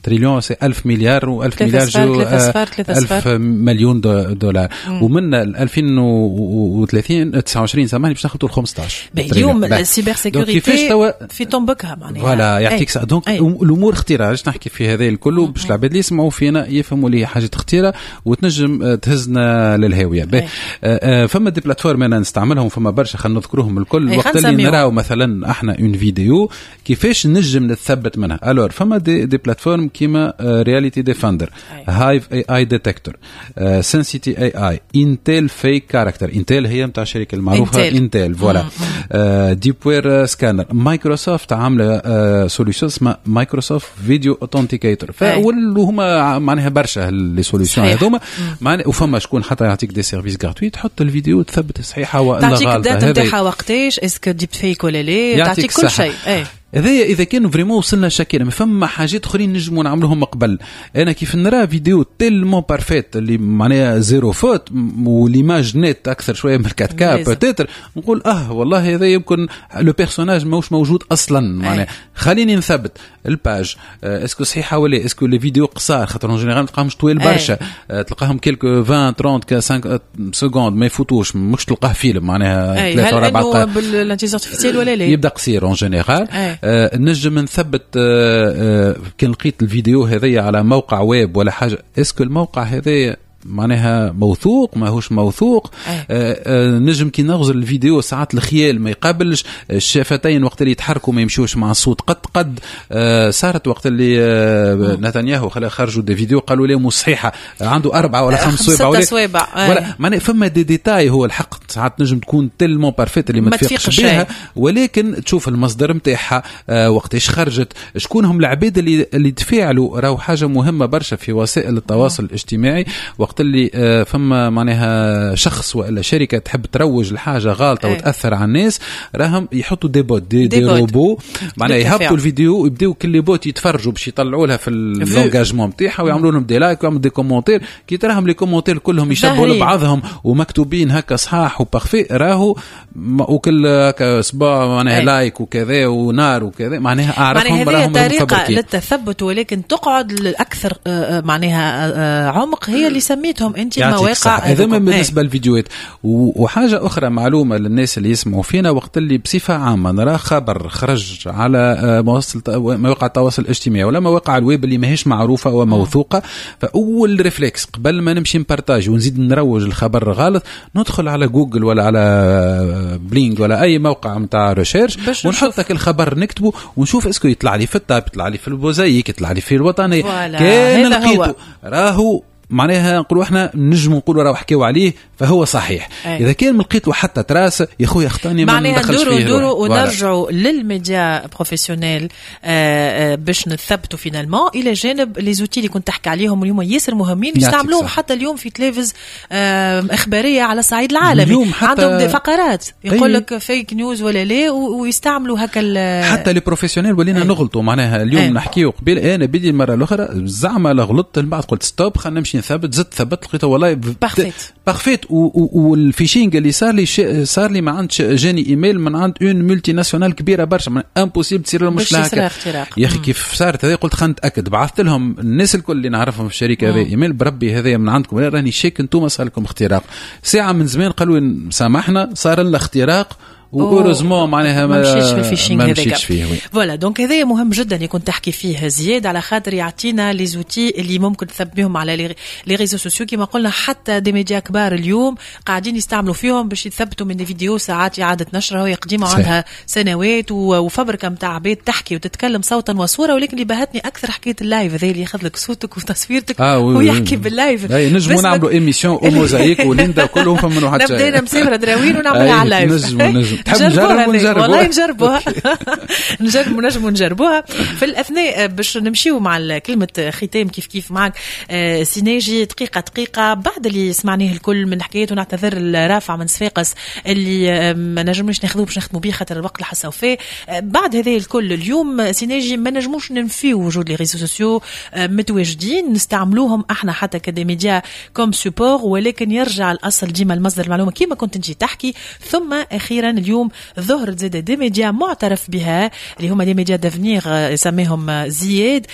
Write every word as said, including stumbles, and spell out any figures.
trillion c'est ألف مليار، وألف مليار جو ألف مليون دولار. ومن ألفين وثلاثين تسعة وعشرين سامحني باش ناخذوا خمسطاش. اليوم ال cybersécurité في طنبكها معناها. voilà، يعطيك صحة. donc الامور خطيره. علاش نحكي في هذا الكل؟ باش العباد اللي يسمعوا فينا يفهموا اللي هي حاجة خطيرة وتنجم تهزنا للهاويه. آه، آه، فما des plateformes انا نستعملهم، فما برشا، خلينا نذكرهم الكل. وقت اللي نراو مثلا احنا une vidéo، كيفاش نجم نتثبت منها؟ alors فما des, des plateformes كيما Reality Defender، Hive AI Detector، Sensity AI، Intel Fake Character، Intel هي نتاع الشركة المعروفة Intel، voilà، Deepware Scanner، مايكروسوفت عامله solution اسمها Microsoft Video Authenticator. هما معناها برشا les solutions هذوما معناها، وفما شكون حتى يعطيك des services gratuits، تحط الفيديو تثبت صحيحه ولا غلطه، تعطيك ال date نتاعها وقتاش، est-ce que deepfake ولا لا، تعطيك كل شيء. هذايا اذا كانوا vraiment وصلنا شكينا، ما فما حاجات اخرين نجموا نعملوهم قبل. انا كيف نرى vidéo tellement parfaite اللي معناها zéro faute و l'image nette اكثر شوية من quatre K peut-être، نقول اه والله هذا يمكن le personnage ماهوش موجود اصلا. معناها خليني نثبت ال page est-ce que صحيحه ولا est-ce que les vidéos قصار، خاطر en général تلقاهمش طويل برشا، آه، تلقاهم quelques عشرين ثلاثين خمسة secondes ما يفوتوش، مش تلقاه فيلم معناها. ثلاثة ولا أربع دقائق. بال intelligence artificielle ولا لا؟ يبدا قصير en général. آه نجم نثبت آه آه كان لقيت الفيديو هذايا على موقع ويب ولا حاجه، est-ce que الموقع هذايا معناها موثوق ماهوش موثوق؟ آه آه نجم كي نغزر الفيديو ساعات الخيال ما يقابلش الشفتين، وقت اللي يتحركوا ما يمشوش مع الصوت قد قد. آه صارت وقت اللي آه نتنياهو خرجوا des vidéos قالوا له مش صحيحه، عنده اربعة ولا خمس صوابع. صوابع. ولا معناها فما des détails، هو الحق ساعات نجم تكون tellement parfaite اللي ما تفيقش بها، ولكن تشوف المصدر نتاعها، آه وقتاش خرجت، شكون هم العباد اللي اللي تفاعلوا. راهو حاجة مهمة برشا في وسائل التواصل الاجتماعي، وقت اللي آه، فما معناها شخص والا شركة تحب تروج لحاجة غالطه ايه. وتاثر على الناس، راهم يحطوا des bots، des, des, des robots، معناها يهبطوا الفيديو ويبداو كل les bots يتفرجوا باش يطلعوا لها في l'engagement نتاعها ويعملوا لهم des likes ويعملوا des commentaires. كي تراهم les commentaires كلهم يشبهوا لبعضهم ومكتوبين هكا صحاح و parfait، راهو وكل هكا صباع معناها like وكذا ونار وكذا، معناها اعرفهم. معناها هذه طريقه للتثبت، ولكن تقعد الاكثر آه، آه، معناها آه، عمق هي اللي سميتهم انت المواقع. هذا بالنسبة للفيديوهات. وحاجه اخرى، معلومة للناس اللي يسمعوا فينا، وقت اللي بصفة عامة نرى خبر خرج على مواقع التواصل الاجتماعي ولا مواقع الويب اللي ماهيش معروفة وموثوقه، فاول réflexe قبل ما نمشي ن partage ونزيد نروج الخبر غلط، ندخل على جوجل ولا على Bing ولا اي موقع نتاع recherche ونحط الخبر، نكتبه ونشوف est-ce que يطلع لي في التاب، يطلع لي في الموزايك، يطلع لي في الوطني. كان لقيته راهو معناها نقولوا احنا نجموا نقولوا راهو حكيوا عليه فهو صحيح. أي. اذا كان ما لقيت له حتى trace يا خويا اخطاني. ما معناها ندوروا ندوروا ونرجعوا لل médias professionnels آه، آه، باش نثبتوا finalement، الى جانب les outils اللي كنت تحكي عليهم اليوم ياسر مهمين، يستعملوهم حتى اليوم في تلفز آه، اخبارية على الصعيد العالمي. اليوم حتى عندهم des فقرات يقول لك fake news ولا لا، ويستعملوا هكا. حتى les professionnels ولينا نغلطوا. معناها اليوم نحكيو قبيل، انا بدي المرة الاخرى زعما لا غلطت، من بعد قلت stop، خلينا نمشي نثبت، زدت ثبت لقيته والله parfaite. parfaite. وال phishing اللي صار لي صار لي ما عندش، جاني ايميل من عند une multinationale كبيرة برشا، impossible تصير لهم مشكلة هكا. يا اخي كيف صارت هذه؟ قلت خلينا نتاكد، بعثت لهم الناس الكل اللي نعرفهم في الشركة هذه ايميل: بربي هذا من عندكم؟ راني شاك انتم صار لكم اختراق. ساعة من زمان قالوا سامحنا، صار لنا اختراق، و heureusement معناها ما مشيتش في ال phishing. ما مشيتش فيه. voilà، donc هذا مهم جدا يكون تحكي فيه زياد، على خاطر يعطينا les outils اللي ممكن تثبت بهم على les réseaux sociaux. كما قلنا حتى des médias كبار اليوم قاعدين يستعملوا فيهم باش يثبتوا من فيديو ساعات اعاده نشرها وهي قديمة عندها سنوات وفبركه نتاع عباد تحكي وتتكلم صوتا وصوره. ولكن اللي بهتني اكثر حكاية ال live هذا اللي ياخذ لك صوتك وتصويرتك آه ويحكي بال live. نجموا نعملوا émission موزايك وليندا كلهم فما واحد. نبدا مسافرة دراوين ونعملها على ال live. نجموا نجم تحب نجرب ونجرب. والله نجربوها، نجرب نجموا نجربوها. في الاثناء باش نمشيو مع كلمة ختام كيف كيف معك آه، سي ناجي، دقيقة دقيقه، بعد اللي سمعناه الكل من حكايات، ونعتذر الرافع من صفاقس اللي آه، ما نجموش ناخذوه باش نختموا به خاطر الوقت اللي فيه. آه، بعد هذا الكل اليوم سي ناجي ما نجموش ننفيو وجود les réseaux sociaux، متواجدين، نستعملوهم احنا حتى ك des médias comme support، ولكن يرجع الاصل ديما المصدر المعلومة كما كنت انت تحكي. ثم اخيرا اليوم اليوم ظهرت زاد des médias معترف بها، اللي هما les médias d'avenir يسميهم زياد.